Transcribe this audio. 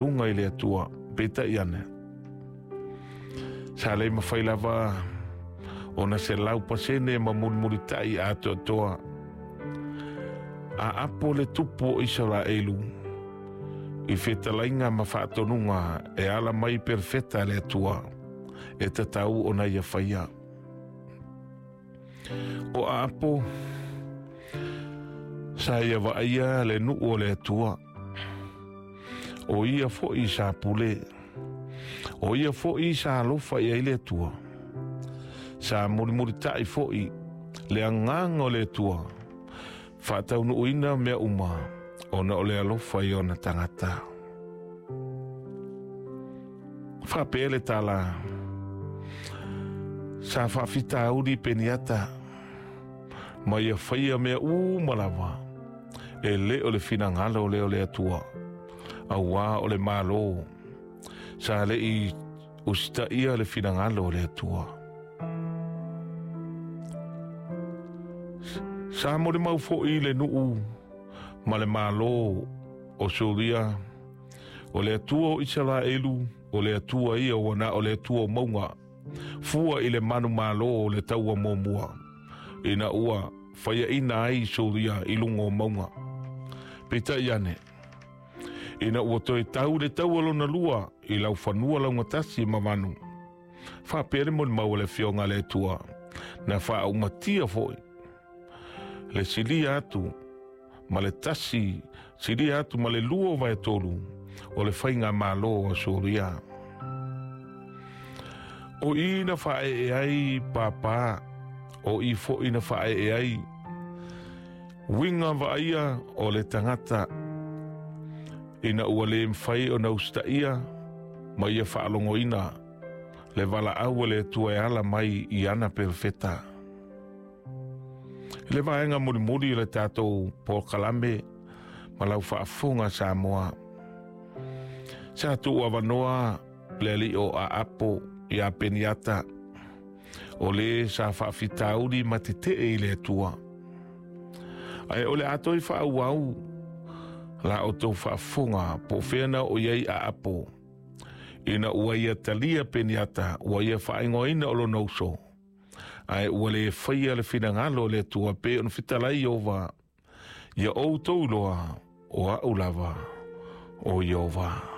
Luga i le Atua, peitai ane, sa le mafai lava ona 100% ma mulimulitai atoatoa a apo le tupu o Isaraelu i fetalaiga ma faatonuga e ala mai perofeta a le Atua e tatau ona ia faia. O Aapo sa ia vaaia le nuu o le Atua, o ia foi sa pule, o ia foi sa alofa i ai le Atua, sa mulimulitai foi le agaga o le Atua, faataunuuina mea uma ona o le alofa i ona tagata. Faapea le tala, sa faafitauli Peniata, ma ia faia mea uma lava, e le o le finagalo lea o le Atua, auā o le Malo, sa le i usitaia le finagalo o le Atua. Sa molimau foi le nuu ma le Malo o Suria, o le Atua o Isaraelu, o le Atua ia ua na o le Atua o mauga, fua i le manumalo o le taua muamua, ina ua faiaina ai Suria i luga o mauga. Peitai ane, ina ua toe tau le taua lona lua i laufanua laugatasi ma vanu, faapea le molimau a le Afioga a le Atua, na faaumatia foi le silia atu ma le tasi, silia atu ma le lua o vaetolu o le faigamalo a Suria. O i na faaee ai pāpā, o i foi na faaee ai uiga vaaia o le tagata, ina ua le mafai ona usitaia ma ia faalogoina le valaau a le Atua e ala mai i ana perofeta. I le vaega mulimuli o le tatou polokalame ma lau faafofoga Samoa, sa tuu avanoa le alii o Aapo ia Peniata, o le sa faafitauli ma tetee i le Atua. Ae o le a toe faaauau la outou faafofoga po o fea na oo i ai Aapo, ina ua ia talia Peniata, ua ia faaigoaina o lona uso, ae ua le faia le finagalo o le Atua pei ona fetalai Ieova, ia outou iloa o au lava o Ieova.